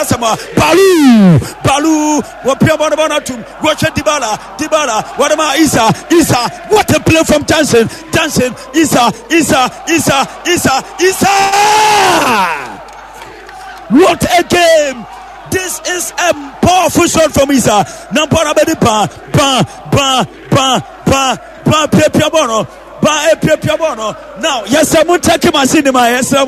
Kwabena Asamoah, Balu, Balu, wɔpia bɔ no bɔ no atum, wɔhwɛ Dybala, Dybala, wɔde ma Isa, Isa, what a play from Johnson, Johnson, Isa, Isa, Isa, Isa, Isa! What a game! This is a powerful shot from Isa. Nampara bɛdi ba, ba, ba, ba, ba, ba, piapia bɔ no, ba, piapia bɔ no. Now, yes, I'm taking my cinema, yes, I'm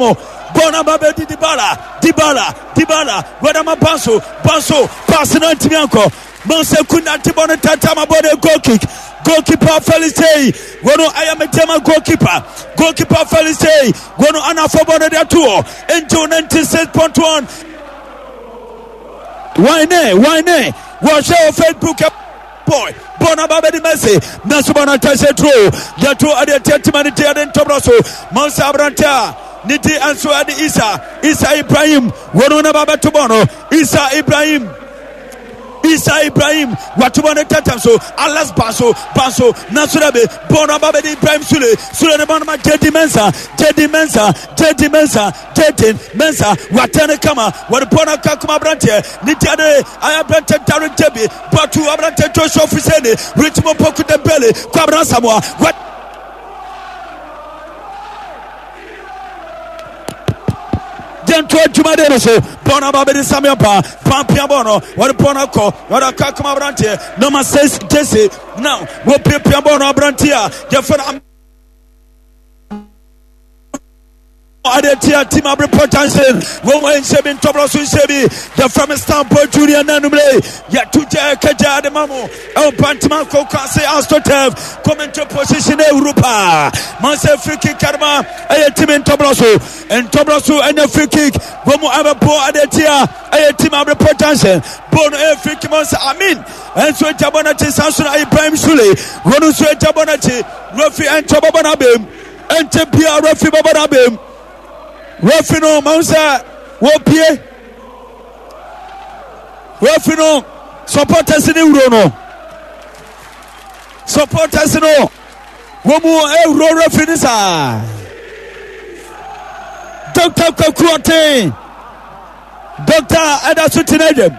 bɔɔl no aba bɛdi Dybala, Dybala, Dybala, wɔde Banso, Banso, pass no antumi ankɔ. Monse Kunda te bɔ no tata ma bɔ no goal kick. Goalkeeper Felicity, wɔn ayɛ metema goalkeeper. Goalkeeper Felicity, wɔn anafɔ bɔ no de ato hɔ. Angel 96.1. Why ne, why ne? Wɔhwɛ wɔ Facebook boy bɔɔl no aba bɛdi Messi nanso bɔɔl no atwa turo yɛto ɛde atiatima ne ti ɛde ntɔbrɔ so Monsa aberante a ne ti nso ɛde Isa Isa Ibrahim wɔn no ba bɛto bɔɔl no Isa Ibrahim Isa Ibrahim watobɔ ne tɛtɛm so Alex Banso Banso nanso dɛ bi bɔɔl no aba bɛdi Ibrahim Sule Sule ne bɔɔl no ma JD Mensah JD Mensah JD Mensah JD Mensah watɛ ne kama wɔde bɔɔl no aka kuma aberanteɛ ne ti ade ayɛ aberanteɛ Darren Debi Batu aberanteɛ Joshua Fuseni Richmond Poku Dembele Kwabena Samoa wat Gento adwumadeɛ no so bɔɔl no aba bɛdi Samuel Ba pampia bɔɔl no wɔde bɔɔl no akɔ wɔde akɔ akoma aberanteɛ number 6 Jesse now wɔpiapia bɔɔl no aberanteɛ a yɛfɛ no ade tia team abrepɔ junction wɔn wɔn nhyɛ bi ntɔbrɔ so nhyɛ bi yɛfrɛ me stampo junior nanumere yɛto gya kagya ade ma mo ɛwɔ bantama koko ase astotef commentary position ewuru paa man sɛ free kick karima ɛyɛ team ntɔbrɔ so ntɔbrɔ so ɛnyɛ free kick wɔn mu abɛbɔ ade tia ɛyɛ team abrepɔ junction bɔɔl no ɛyɛ free kick man sɛ amin ɛnso agya bɔ n'akyi san so na ibrahim sule wɔn nso agya bɔ n'akyi refi ɛnkyɛ bɔbɔ n'abɛm ɛnkyɛ biara refi bɔbɔ n'abɛm refi no man sɛ wɔpie refi no supporters ne wuro no supporters no wɔn mu ewuro refi no saa dr kwaku ɔten dr ɛda so tena dwam.